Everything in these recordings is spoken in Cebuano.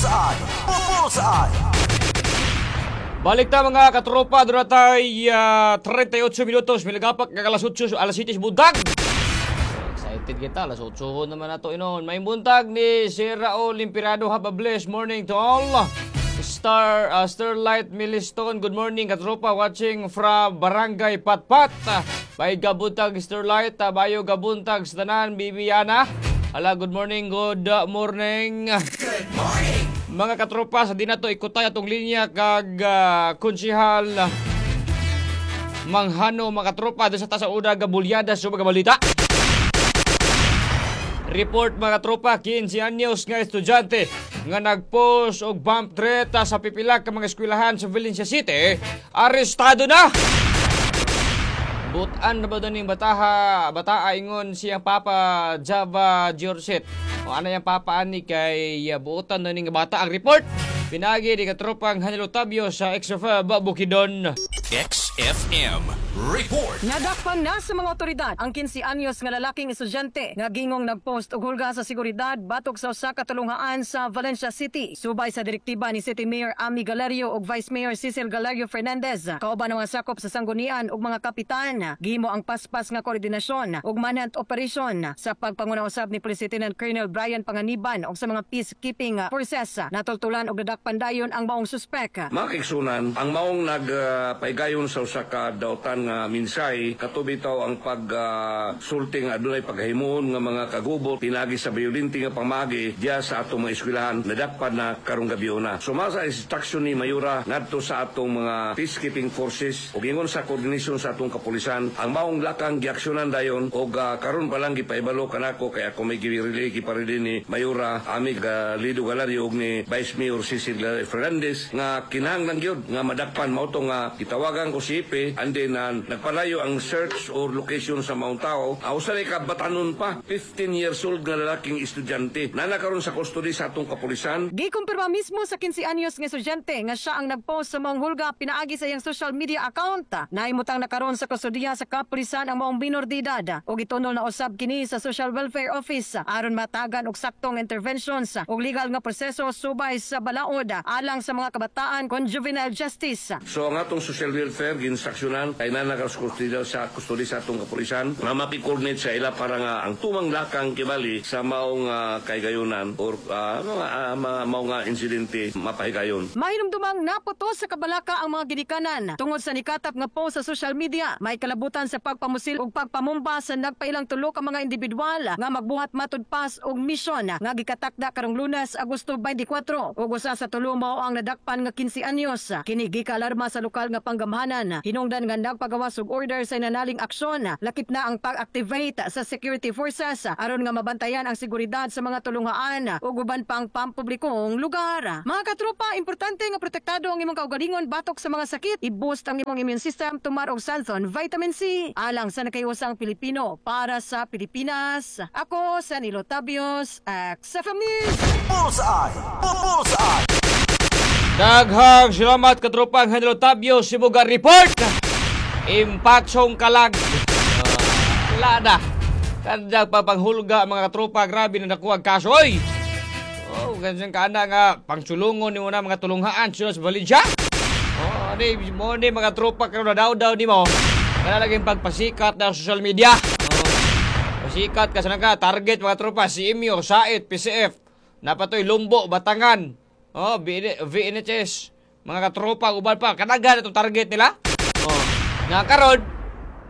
Bullseye! Bullseye! Balik ta, mga katropa, doon na tayo 38 minutos, milagapak kag alas 8, alas 7 buntag. Excited kita, alas 8 naman na to inon. May buntag ni Sir Raul Limpirado, have a blessed morning to all. Starlight Miliston, good morning, katropa, watching from Barangay Patpat. Bay gabuntag, Starlight, bayo gabuntag sa tanan, Bibiana. Hala, good morning, good morning. Mga katropa, sa di na to ikutay atong linya kag konsihal Manghano, mga katropa, doon sa ta sa una gabulyada sa mga balita. Report, mga tropa, 15 anyos nga estudyante nga nagpost og bomb threat sa pipila ka mga eskwelahan sa Valencia City, arestado na. Butan na ba doon yung bataha, bataa ingon siyang papa Java Giorget. O ano yung papa ani kay buutan na ning bata ang report. Pinagi ni katropang Hanilo Tabio sa XFM Bukidnon. XFM Report. Nadakpan na sa mga otoridad ang 15 anyos nga lalaking estudyante nga gingong nagpost og hulga sa seguridad batok sa usa ka tulunghaan sa Valencia City. Subay sa direktiba ni City Mayor Ami Galerio ug Vice Mayor Cecil Galerio Fernandez, kauban ang mga sakop sa sanggunian ug mga kapitan, gihimo ang paspas nga koordinasyon ug manhunt operation sa pagpanguna usab ni Police Lieutenant Colonel Brian Panganiban ug sa mga peacekeeping forces. Natultulan og nadakpan dayon ang maong suspek. Mga kaigsunan, ang maong nagpaigayon sa usa ka dautan nga minsay kato bitaw ang pagsulti nga adunay paghimuon nga mga kagubot pinagi sa violente nga pamagi diya sa atong mga eskwelahan, nadakpan na karong gabi na. Sumasa sa instruction ni Mayura ngadto sa atong mga peacekeeping forces ug ingon sa coordination sa atong kapulisan, ang maong lakang giaksyonan dayon og karon pa lang gipaibalo kanako kay ako may gi-relay giparili ni Mayura Ami Lido Galario ug ni Vice Mayor Cecil Fernandez nga kinahanglan gyud nga madakpan mao to nga gitawagan ko si Ipe and then nagpalayo ang search or location sa maong tao. Usa ka batanon pa, 15 years old nga lalaking estudyante na nakaron sa custody sa atong kapulisan. Gikumpirma mismo sa 15 anyos nga estudyante nga siya ang nagpost sa maong hulga pinaagi sa iyang social media account. Nahimutang na karon sa kustodiya sa kapulisan ang maong minor de edad ug gitunol na usab kini sa Social Welfare Office aron matagan og saktong interventions ug legal nga proseso subay sa balaod alang sa mga kabataan kon juvenile justice. So ang atong social welfare ginstruksyonan kay na sa custody sa atong kapulisan nga maki-coordinate sa ila para nga ang tumang lakang kibali sa maong kahigayonan or mga mao nga insidente mapahigayon. Mahinumdumang naputo sa kabalaka ang mga ginikanan tungod sa nikatap nga post sa social media. May kalabutan sa pagpamusil ug pagpamumba sa nagpailang tulo ka mga individual nga magbuhat matud pas og misyon nga gikatakda karong Lunes, Agosto 24. Ug usa sa tulo mao ang nadakpan nga 15 anyos. Kini gikaalarma sa lokal nga panggamhanan. Hinungdan nga nagpagawas og order sa inanaling aksyon. Lakip na ang pag-activate sa security forces aron nga mabantayan ang seguridad sa mga tulunghaan ug uban pang pampublikong lugar. Mga katropa, importante nga protektado ang imong kaugalingon batok sa mga sakit. I-boost ang imong immune system, tumar og Santhon Vitamin C. Alang sa nakahiusang Pilipino para sa Pilipinas. Ako, Sanilo Tabios, XFM News. Bullseye! Bullseye! Daghang salamat, katropang Hanilo Tabio, Sibuga Report. Impaksong kalag. Wala na. Kada papanghulga, mga katropa, grabe na nakuha ang kaso. Oy! Oh, ganyan ka na nga pangsulungon nimo na mga tulunghaan sila sa Valencia. Oh, ni mo ni mga tropa karon na daw daw nimo. Kana lagi pagpasikat na social media. Oh, pasikat ka sa ka target, mga tropa, si Imyo, Sait, PCF, napatoy Lumbo, Batangan. Oh, VNHS, mga katropa uban pa kadagan itong target nila. Oh, nga karon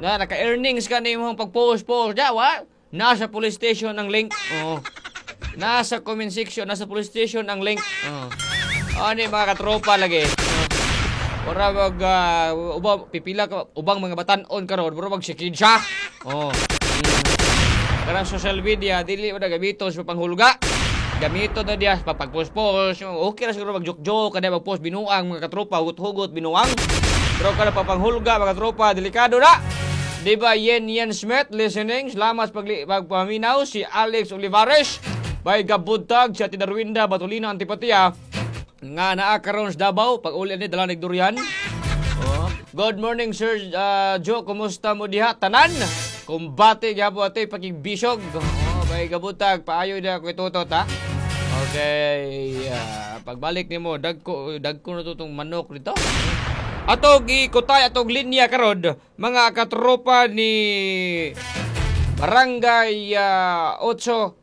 na naka-earnings ka nimo pag-post-post ja, wa? Nasa police station ang link. Oh. Nasa comment section, nasa police station ang link. Oh. Ano yung mga katropa lagi. Oh. Ora mag uba, pipila ka ubang mga batan-on karon, mura mag siya. Oh. Karang social media dili mo na gamito sa panghulga. Gamito na diya sa pagpost-post. Okay ra siguro mag-joke-joke kada mag-post binuang, mga katropa, hugot-hugot binuang. Pero kada papanghulga, mga katropa, delikado na. Di ba Yen Yen Smith listening? Salamat sa pagpaminaw si Alex Olivares. Bay gabuntag sa Tinarwinda Batulina Antipatia nga naa karon sa Davao pag uli ni dala durian. Oh. Good morning, Sir Joe, kumusta mo diha tanan? Kumbate gyapon ate pakigbisog. Oh, bay gabuntag paayo na ko itutot ha. Okay, pagbalik nimo dagko dagko na to tong manok dito. Atog ikutay atog linya karon, mga katropa, ni Barangay 8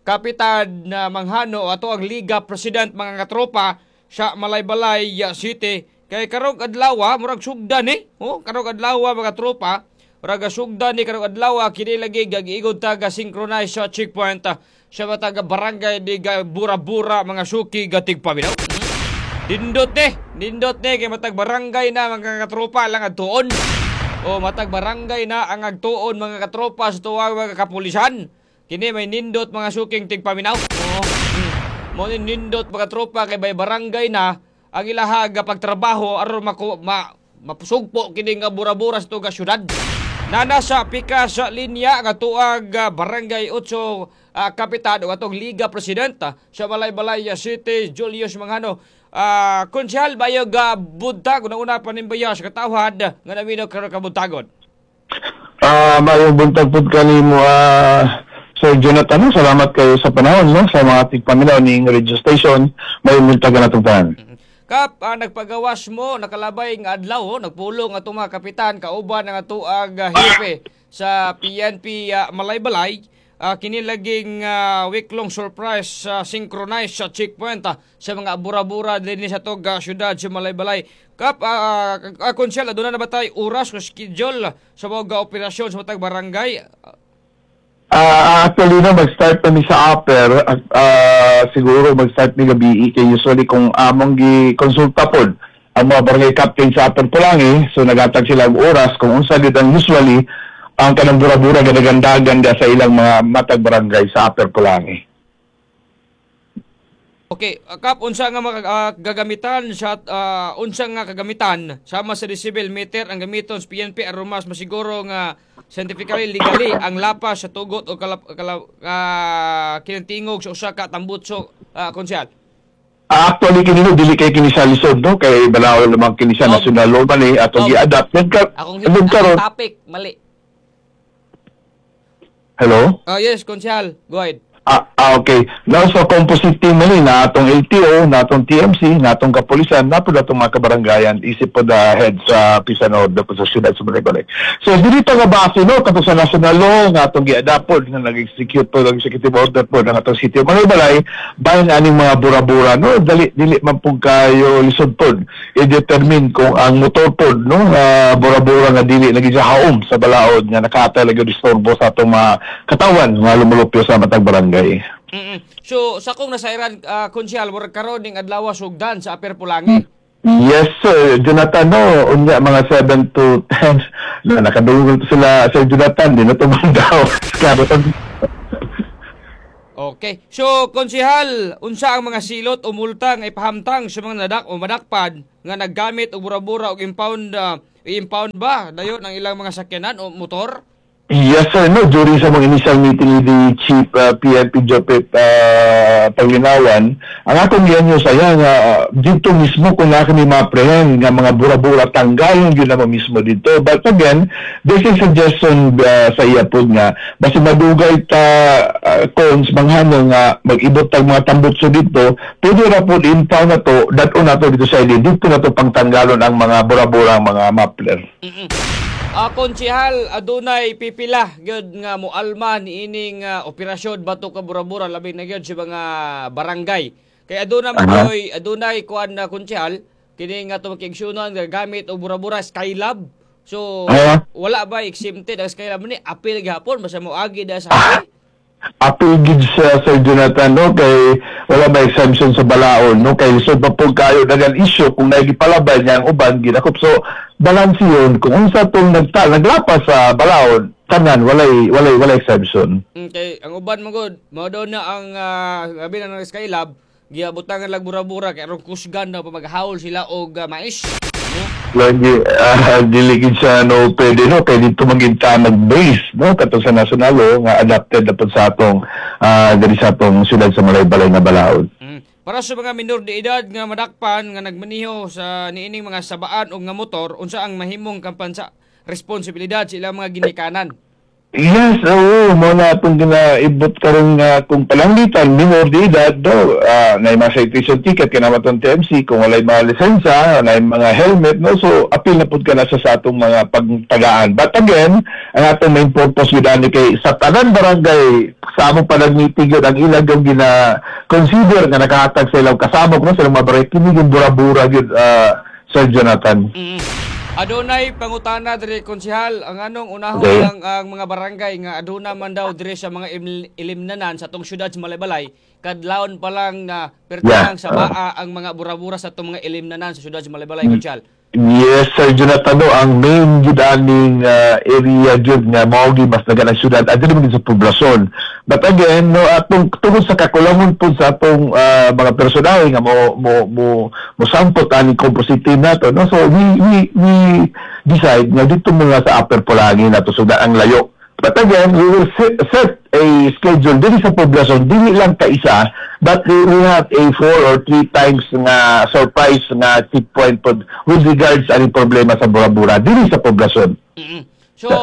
Kapitan na Manghano, ato ang Liga President, mga katropa, sa Malaybalay City. Kay karong adlaw murag sugdan eh. Oh, karong adlaw, mga tropa. Murag sugdan ni karong adlaw. Kini lagi gagiigod ta ga synchronize sa checkpoint sa matag barangay di ga bura-bura, mga suki gatig paminaw. Nindot eh, nindot eh kay matag barangay na, mga katropa, lang adtuon. O matag barangay na ang agtuon, mga katropa, sa tuwang mga kapulisan. Kini may nindot, mga suking tigpaminaw. Oo. Mo ni nindot, mga tropa, kay bay barangay na ang ilaha pagtrabaho aron maku, ma, mapusugpo kini nga bura-bura sa tuga syudad. Nana sa pika sa linya nga tuag Barangay 8 Kapitan o atong Liga President sa Malaybalay City, Julius Manghano. Konsyal, bayog buntag, una-una panimbaya sa katawhan nga naminaw karon kabuntagon. Mayong buntag pud kanimo, Sir Jonathan. Salamat kayo sa panahon, no, sa mga tigpaminaw ning radio station. Mayong buntag na itong tanan. Kap, nagpagawas mo, nakalabay nga adlaw, oh, nagpulong atong mga kapitan, kauban ang atuag hepe sa PNP Malaybalay. Kini laging week-long surprise synchronized sa checkpoint sa mga bura-bura din sa tog syudad sa Malaybalay. Kap, konsyal, aduna na ba tayo oras o schedule sa mga operasyon sa matag barangay? Actually, no, mag-start kami sa upper, siguro mag-start mi gabi kay usually kung among gi-konsulta pod ang mga barangay captain sa Upper Pulangi, so nagatag sila og oras kung unsa gid ang usually ang kanang bura-bura gadagandagan sa ilang mga matag barangay sa Upper Pulangi. Okay, Kap, unsa nga mga gagamitan sa unsa nga kagamitan sama sa decibel meter ang gamiton sa PNP aron mas masiguro nga scientifically, legally ang lapas sa tugot o kalap, kinantingog sa usa ka tambutso, konsyal? Actually kini, no, dili kay kini sa lisod, no, kay balaod naman kini sa national law man eh atong gi-adapt then ka Akong, then akong karon topic mali. Hello. Yes, konsyal, go ahead. Ah, okay. Now, sa composite team man na atong LTO, na atong TMC, na atong kapulisan, na po atong mga kabaranggayan, isip po the head sa Pisanod, po sa siyudad sa Malaybalay. So, dito nga base, no, kato sa national law, nga atong gi-adapt po, nga nag-execute po, ng executive order po, ng atong City of Malaybalay, bayan aning mga bura-bura, no, dali, dili man po kayo lisod po, i-determine kung ang motor po, no, nga bura-bura nga dili lagi sa haom sa balaod, nga nakatay lagi disturbo sa atong mga katawan, nga lumulupyo sa matag barangay. So, sa kong nasairan, konsyal, murag karon ning adlaw sugdan sa Upper Pulangi. Yes, sir. Jonathan, no, unya mga 7 to 10 na nakadungog sila, Sir Jonathan, di na tumandaw. Klaro. Okay. So, konsihal, unsa ang mga silot o multa nga ipahamtang sa mga nadak o madakpan nga naggamit og bura-bura og impound, i-impound ba dayon ang ilang mga sakyanan o motor? Yes, sir. No, during sa mga initial meeting with the Chief PNP Jopet Paglinawan, ang akong gianyo sa iya nga dito mismo kung na kami ma-apprehend nga mga bura-bura, tanggalon gyud na mo mismo dito. But again, this is suggestion sa iya po nga basta madugay ta cons manghano nga mag-ibot tag mga tambutso dito, pwede ra po impound na to, dad-on na to dito sa ili, dito na to pangtanggalon ang mga bura-bura, ang mga muffler. Konsihal, adunay pipila gyud nga moalma niining operasyon batok ka bura-bura, labi na gyud sa mga barangay. Kay aduna man gyoy, adunay kuan na, konsihal, kini nga tumakigsyonan nga gamit og bura-bura, Skylab. So wala ba exempted ang Skylab ni? Apil gihapon basta moagi da sa highway? Apil gid sa Sir Jonathan, no, kay wala ba exemption sa balaod, no, kay lisod pa po kayo dagan issue kung naigipalabay niya ang uban gidakop. So balance yun kung unsa tong naglapas sa balaod, tanan walay exemption. Okay, ang uban mo gud, mao daw na ang labi na ng Skylab, giabutangan lang bura-bura kay aron kusgan daw pa maghaol sila og mais. No? Lagi dili gid siya, no, pwede, no, kay dito maging ta nag-base, no, kato sa national law nga adapted na pud sa atong diri sa atong syudad sa Malaybalay nga balaod. Para sa mga minor de edad nga madakpan nga nagmaniho sa niining mga sabaan o nga motor, unsa ang mahimong kampansa responsibilidad sa ilang mga ginikanan? Yes, oo, mao na atong ginaibot karon nga kung palangitan minor de edad do, na mga citation ticket kay naman tong TMC kung walay mga lisensya, na mga helmet, no, so apil na pud ka na sa atong mga pagtagaan. But again, ang atong main purpose gyud ani kay sa tanan barangay sa among panag-meeting yun, ang ilang yung gina-consider nga nakahatag sa ilang kasamok, no, sa ilang mga barangay, kini yung bura-bura gyud, Sir Jonathan. Adunay pangutana diri, konsehal, ang anong unahon lang ang mga barangay nga aduna man daw diri sa mga ilimnanan sa atong syudad sa Malaybalay, kadlawon pa lang na pertang sa baa ang mga bura-bura sa atong mga ilimnanan sa syudad sa Malaybalay, konsehal? Yes, Sir Jonathan, no, ang main gyud aning area gyud nga mao gyud mas dagan ang syudad adto man gyud sa poblasyon. But again, no, atong tungod sa kakulangon pud sa atong mga personahe nga mo mo sampot aning composite team nato, no. So we decide nga dito muna sa Upper Polangui nato sugdan, ang layo. But again, we will set a schedule dili sa poblasyon, dili lang kaisa, but we have a four or three times nga surprise nga checkpoint pod with regards aning problema sa bura-bura dili sa poblasyon. So,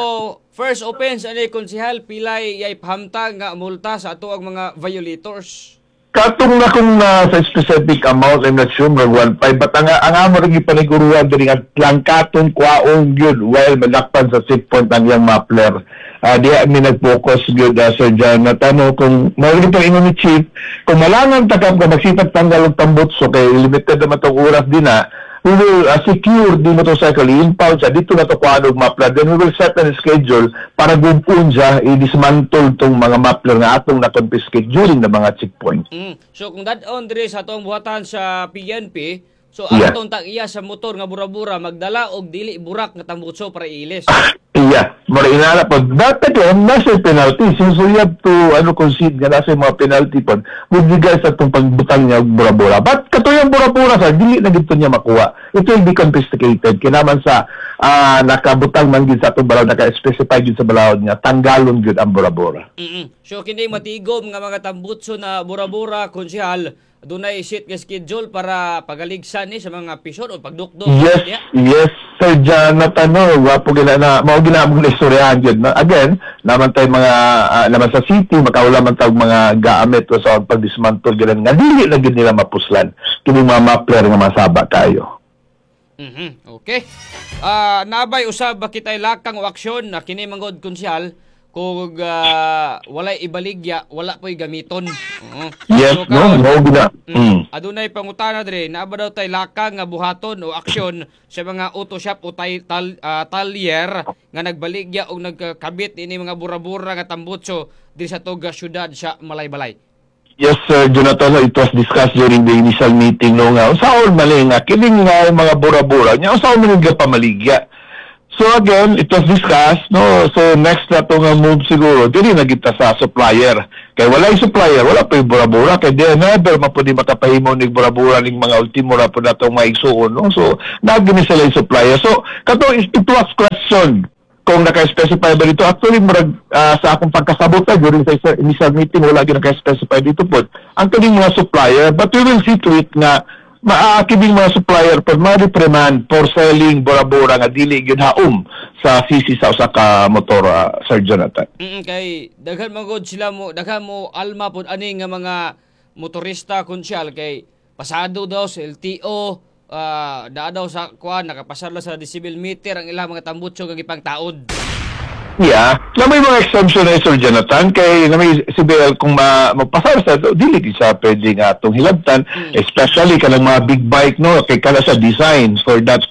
first offense ani, konsehal, pilay yay pahamtang nga multa sa ato ang mga violators? Katong na kung na sa specific amount, I'm not sure, mag 1.5, but ang amo rin ipaniguruan diri nga langkaton kwaong yun while malakpan sa checkpoint ang iyang muffler. Diha mi nag-focus gyud, Sir Jonathan, no, kung mao rin ingon ni Chief, kung malangan takam ka magsitag tanggal og tambutso kay limited naman tong oras din na, we will secure the motorcycle, i-impound siya, dito na to kuhaan og muffler, then we will set an schedule para gupon siya, i-dismantle tong mga muffler nga atong na-confiscate during the mga checkpoint. So kung dad-on diri sa atong buhatan sa PNP, so ang atong tag-iya sa motor nga bura-bura magdala og dili burak nga tambutso para iilis. Yeah, mura inala po. But again, nasa penalty. So you have to ano, concede nga nasa mga penalty po with regards sa itong pagbutang niya og bura-bura. But katuyang bura-bura sa dili na gito niya makuha. It will be confiscated. Kinaman sa nakabutang man gid sa atong balaod, naka-specify gid sa balaod niya, tanggalon gid ang bura-bura. So kini matigom nga mga tambutso na bura-bura, konsehal, dunay set nga schedule para pagaligsan ni sa mga pisyon o pagdukdok? Yes, yes, Sir Jonathan, no, wapo gina na, mao gina among istoryahan gyud. Na, again, naman tayo mga, naman sa city, makaula man tag mga gamit o sa pag-dismantle gina nga dili na gyud nila mapuslan. Kini mga muffler nga masaba kayo. Okay. Nabay usab ba kitay lakang o aksyon na kini manggod, konsehal, kung walay ibaligya, wala po'y gamiton? Oo. Yes, So, no, karon, mao gina. Adunay pangutana diri, naa ba daw tay lakang nga buhaton o aksyon sa mga auto shop o talyer nga nagbaligya og nagkabit ini mga bura-bura nga tambutso diri sa toga syudad sa Malaybalay? Yes, Sir Jonathan, no, it was discussed during the initial meeting, no, nga unsaon man nga kining nga mga bura-bura nya, unsaon man nga pamaligya. So again, it was discussed, no. So next na to nga move siguro, dili na kita sa supplier. Kay walay supplier, wala pa yung bura-bura. Kay di never mapudi makapahimo ning bura-bura ning mga ultimo ra po natong maigsuon, no. So nagini sila yung supplier. So kato it was question kung naka-specify ba dito. Actually, murag, sa akong pagkasabot na during sa initial meeting, wala gyud naka-specify dito po. Ang kining mga supplier, but we will see to it nga maaakibing mga supplier po ma-reprimand for selling bura-bura nga dili gyud haom sa CC sa usa ka motor, Sir Jonathan. Kay daghan man gud sila mo, daghan mo alma pod ani nga mga motorista, konsyal, kay pasado daw sa LTO, daa daw sa kuan, nakapasar lang sa decibel meter ang ilang mga tambutso nga gipangtaod. Yeah. Na may mga exemption na, Sir Jonathan, kay na may CBL kung magpasar sa dili di siya pwede nga atong hilabtan, especially kanang mga big bike, no, kay kana sa design for that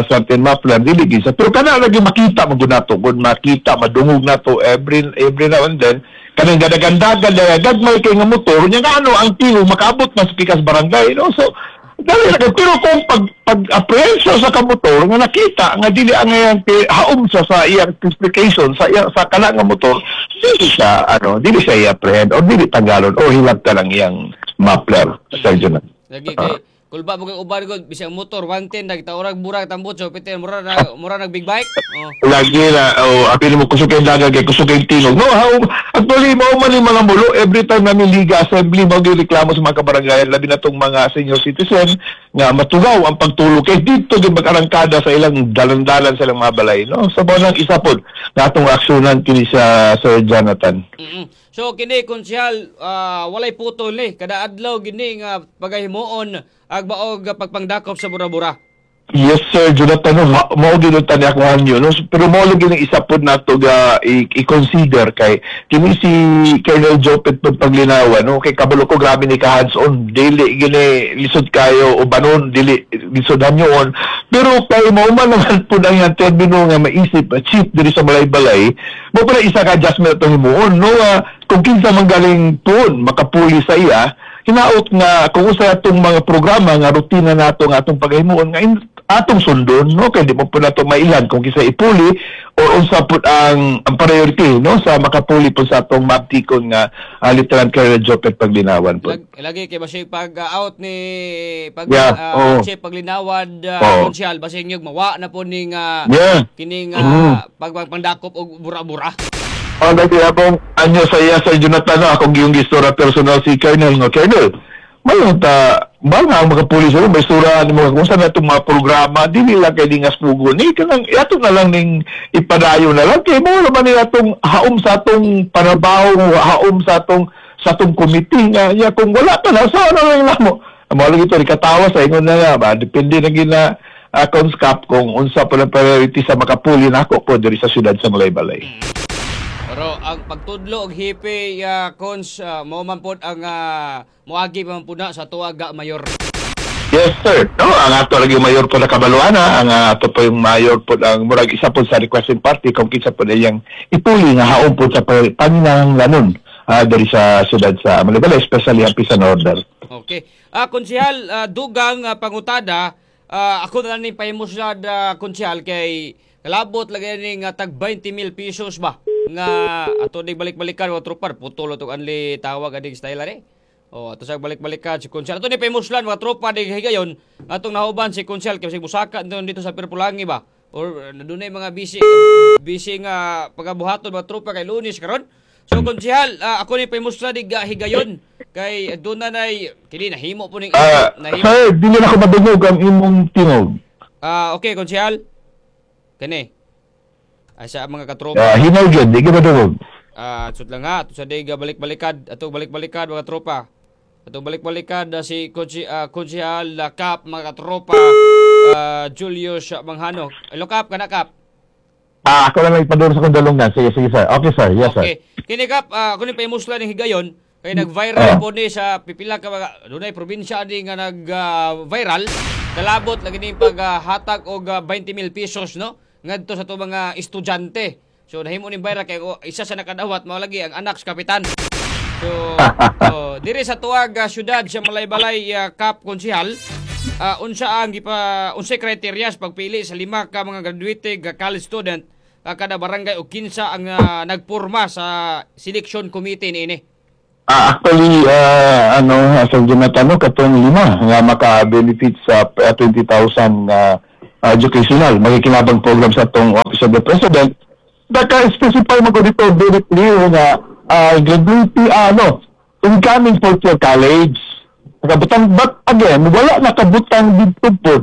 certain muffler, dili gid siya. Pero kana lagi makita mo gud nato, kung makita madungog nato every now and then kanang gadagandagan daya gagmay kay nga motor nya nga ano ang tilo makaabot na sa pikas barangay, no. So dali na kay, pero kung pag apprehension sa kamotor nga nakita nga dili ang iyang haom sa iyang specification sa iyang sa kana nga motor, dili siya ano, dili siya i-apprehend o dili tanggalon o hilabtan ang iyang muffler, Sir Jonathan. Lagi kay Kulba mo kay uban ko bisag motor 110 nagtaurag burag tambutso pite mura na mura nag big bike. Oh. Lagi na, oh, apil mo kusog kay daga kay kusog kay tingog. No, how, actually, mao man yung mga mulo. Every time namin Liga Assembly, mao gyud reklamo sa mga kabarangayan, labi na tong mga senior citizen, nga matugaw ang pagtulog. Kay dito gyud mag-arangkada sa ilang dalan-dalan sa ilang mga balay. No? Sa so, nang isa pod, na atong aksyonan kini sa Sir Jonathan. So kini, konsehal, walay putol ni kada adlaw gini nga pagahimuon ag baog pagpangdakop sa bura-bura. Yes, Sir Jonathan, no, mao gyud ang tani ako hanyo, no? Pero mao lagi ng isa pod nato ga i-consider kay kini si Colonel Jopet pag paglinawan, no, kay kabalo ko grabe ni ka hands on, dili gini lisod kayo ubanon, dili lisod hanyoon, pero kay mao man naman pud ang iyang termino nga maisip chief diri sa Malaybalay, mo pala isa ka adjustment atong himuon, no, kung kinsa man galing tuon makapuli sa iya, hinaot nga kung usa atong mga programa nga rutina nato nga atong paghimuon nga atong sundon, no, kay di mo po nato mailan kung kinsa ipuli or unsa pud ang priority, no, sa makapuli po sa atong maptikon nga Lieutenant Colonel Jopet Paglinawan po. Lagi kay basig pag out ni pag chief Paglinawan, konsehal, basig nyug mawa na po ning kining pagpangdakop og bura-bura. Ang dati akong anyo sa iya, Sir Jonathan, no, akong giyong gistura personal si Colonel nga, Colonel, mayon ta, ba nga ang mga pulis, ano, may sura ni mga kung saan na itong mga programa, dili lang kay dingas pugo ni, kanang, ato na lang ning ipadayo na lang, kay mo naman ni atong haom sa atong panabaw, haom sa atong committee nga, ya, kung wala pa na, so ano lang namo. Ang mga lagi ito, katawa sa ingon na nga, ba, depende na gina Conscap kung unsa pa lang priority sa makapuli nako po diri sa siyudad sa Malaybalay. Pero ang pagtudlo og hipi, cons, mao man pod ang moagi pa man pud na sa tuwaga mayor. Yes, sir. No, ang ato lagi mayor po na kabaluana, ang ato po yung mayor po ang murag isa po sa requesting party kung kinsa po iyang ipuli nga haom po sa panginahanglanon diri sa siyudad sa Malaybalay, especially ang peace and order. Okay. Konsehal, dugang pangutada, ako na lang ning pahimuslad, konsehal, kay kalabot lagi ni nga tag 20 mil pesos ba nga ato ning balik-balikan wa tropa putol tong anli tawag aning style ani. Oh, ato sa balik-balikan si konsehal. Ato ni pahimuslan mga tropa di higayon atong nahuban si konsehal kay sig musaka dito sa Pirpulangi ba or dunay mga busy busy nga pagabuhaton mga tropa kay Lunes karon. So konsehal, ako ni pahimuslan dig higayon kay doon na nay kini nahimo po ning nahimo. Sir, dili na ko madungog ang imong tingog. Okay, konsehal. Kani. Ay sa mga katropa. Hinaw gyud, di ka madungog. Sud lang ha, ato sa diga balik-balikad, ato balik-balikad mga tropa. Ato balik-balikad si Konsehal Kap mga katropa, Julius Manghano. Hello Kap, kana Kap. Ako lang ipaduro sa kong dalungan. Sige, sige sir. Okay sir, yes sir. Okay. Kini Kap, ako ni pahimuslan ning higayon kay nag-viral po ni sa pipila ka mga dunay probinsya ani nga nag-viral. Kalabot lagi ning paghatag og 20 mil pesos, no, ngadto sa to mga estudyante. So nahimo ning viral kay isa sa nakadawat mao lagi ang anak sa kapitan. So diri sa tuwag syudad sa Malaybalay, Kap Konsehal, unsa ang gipa unsay criteria sa pagpili sa lima ka mga graduate college student kada barangay o kinsa ang nagporma sa selection committee niini? Actually, ano, Sir Jonathan, no, katong lima nga maka-benefit sa 20,000 nga educational makikinabang program sa atong Office of the President, naka-specify mo ko dito very clear nga graduate, ano, incoming fourth year college. Nakabutang, but again, wala nakabutang dito po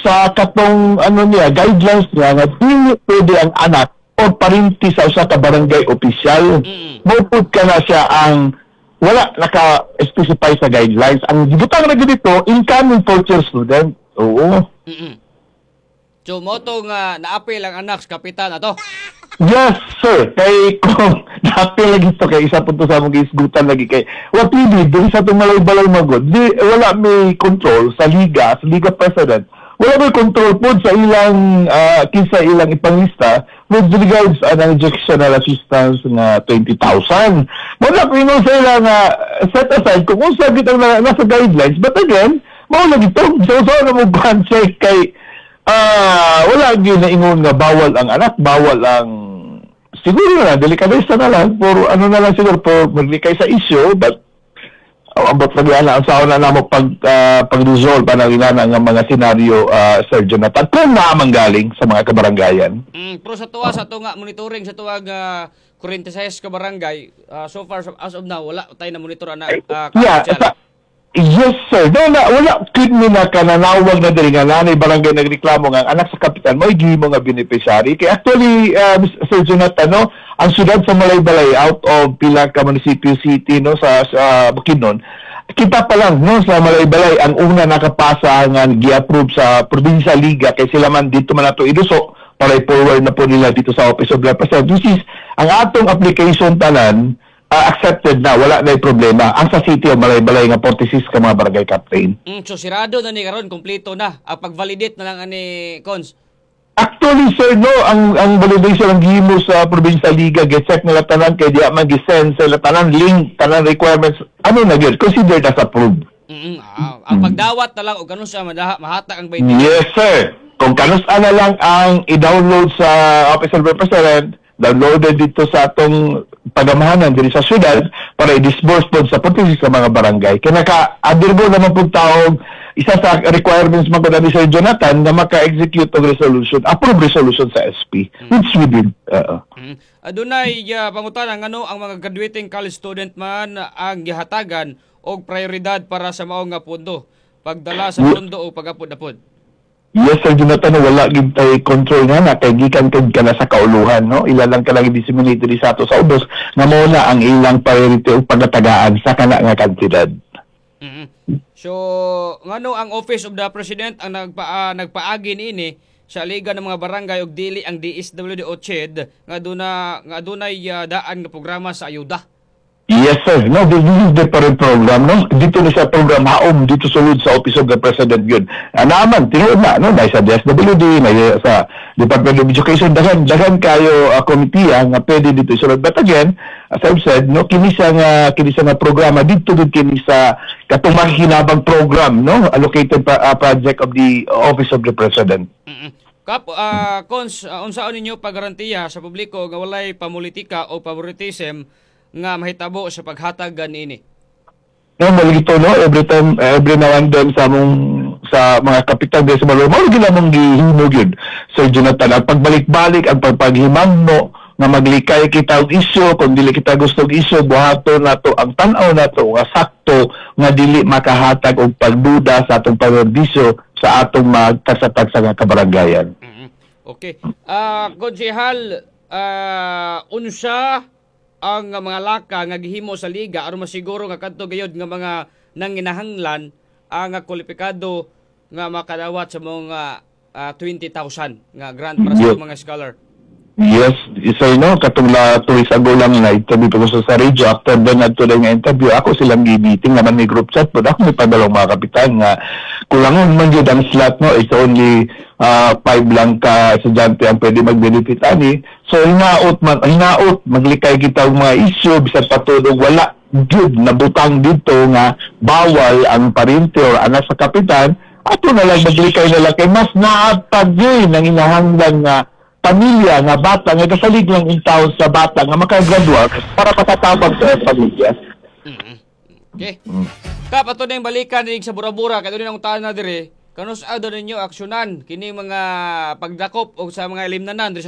sa katong ano niya, guidelines niya nga dili pwede ang anak o parinti sa usa ka barangay opisyal. Mo pud ka na siya ang wala naka-specify sa guidelines. Ang gibutang ra gyud dito, incoming fourth year student. Oo. So mo to nga naapil ang anak sa kapitan ato. Yes, sir. Kay kung naapil lagi to kay isa po to sa among giisgutan lagi kay wa pili diri sa atong Malaybalay magod. Di wala may control sa liga president. Wala may control po sa ilang kinsa ilang ipanglista with regards an educational assistance nga 20,000. Mo na ingon sa ila nga set aside kung unsa gid ang nasa guidelines. But again, mao lagi to. So na mo check kay wala gyud na ingon nga bawal ang anak, bawal ang siguro na delikadesa na lang for ano na lang siguro for maglikay sa issue, but Ambot lagi ana ang saon na namo pag-resolve ana inana nga mga senaryo, Sir Jonathan, kung naa man galing sa mga kabaranggayan. Pero sa tuwa sa ato nga monitoring sa tuwa nga 46 ka barangay, so far as of now wala tayo na monitor ana Yeah, yes sir. No, na wala kid mi na kananawag na diri nga nanay barangay nagreklamo nga ang anak sa kapitan mo gihimo nga beneficiary. Kay actually, Sir Jonathan, no, ang syudad sa Malaybalay, out of pila ka munisipyo city, no, sa Bukidnon, kita pa lang, no, sa Malaybalay ang una nakapasa nga gi-approve sa probinsya liga kay sila man dito man ato iduso para i-forward na po nila dito sa Office of the President. Which is, ang atong application tanan accepted na, wala na problema. Ang sa City of Malaybalay nga 46 ka mga barangay captain. So sirado na ni karon, kompleto na. Ang pag-validate na lang ani, Cons. Actually, sir, no, ang validation ang gihimo sa provincial liga, gi-check nila tanan kay diya man gi-send sa ila tanan link, tanan requirements, ano na gyud, considered as approved. Ang pagdawat na lang og kanus sa mahatag ang 20. Yes, sir. Kung kanus na lang ang i-download sa Office of the President, downloaded dito sa atong pagamahanan diri sa syudad para i-disburse po sa 46 sa mga barangay. Kaya naka-adirbo naman po taog isa sa requirements man ni Sir Jonathan na maka-execute og resolution, approve resolution sa SP, which we did. Oo. Adunay pangutana, ngano ang mga graduating college student man ang gihatagan og prioridad para sa mao nga pondo? Pagdala sa pondo o pagapod-apod? Yes, Sir Jonathan, wala gid tay control nga na kay gikan kay ka na sa kauluhan, no? Ila lang ka lang i-disseminate diri sa ato sa ubos nga mao na ang ilang priority o pagkatagaan sa kana nga kantidad. So, ngano ang Office of the President ang nagpaagi niini sa liga ng mga barangay ug dili ang DSWD o CHED nga adunay daan nga programa sa ayuda? Yes, sir. No, this is different program, no? Dito na sa program haom, dito sulod sa Office of the President yun. Ah, naman, tinuod na, no? Dahil sa DSWD, na sa Department of Education, daghan, daghan kayo committee nga pwede dito isulod. But again, as I've said, no, kini siya nga programa, dito din kini sa katong makikinabang program, no? Allocated project of the Office of the President. Kap, Cons, unsaon ninyo paggarantiya sa publiko nga walay pamulitika o favoritism nga mahitabo sa paghatag niini? No, malito, no, every time, every now and then sa among sa mga kapitan sa Maloro, mao gyud among gihimo gyud. Sir Jonathan, ang pagbalik-balik, ang pagpaghimangno nga maglikay kita og isyu, kung dili kita gusto og isyu, buhaton nato ang tan-aw nato nga sakto nga dili makahatag og pagduda sa atong panerbisyo sa atong magtagsa-tagsa nga kabaranggayan. Okay. Konsehal, unsa ang mga laka nga gihimo sa liga aron masiguro nga kadto gayud nga mga nanginahanglan ang kwalipikado nga makadawat sa mga 20,000 nga grant para sa mga scholar? Yes, sir, no, katong la 2 weeks ago lang na interview ko sa radio. After then, adto nga interview, ako silang gi-meeting naman, may group chat po. Ako may padalong mga kapitan nga kulangon man jud ang slot, no. It's only five lang ka estudyante ang pwede mag-benefit ani. So hinaot man, hinaot maglikay kita og mga issue bisan patulog wala jud nabutang dito nga bawal ang parente or anak sa kapitan, ato na lang maglikay na lang kay mas naatag yun ang inahanglan nga pamilya nga bata nga kasalig lang in taon sa bata nga makagraduate para makatabang sa pamilya. Okay. Kap, ato na yung balikan sa Bura-Bura kay doon ang na dire. Kanus-a daw ninyo aksyonan kini mga pagdakop o sa mga ilimnanan diri sa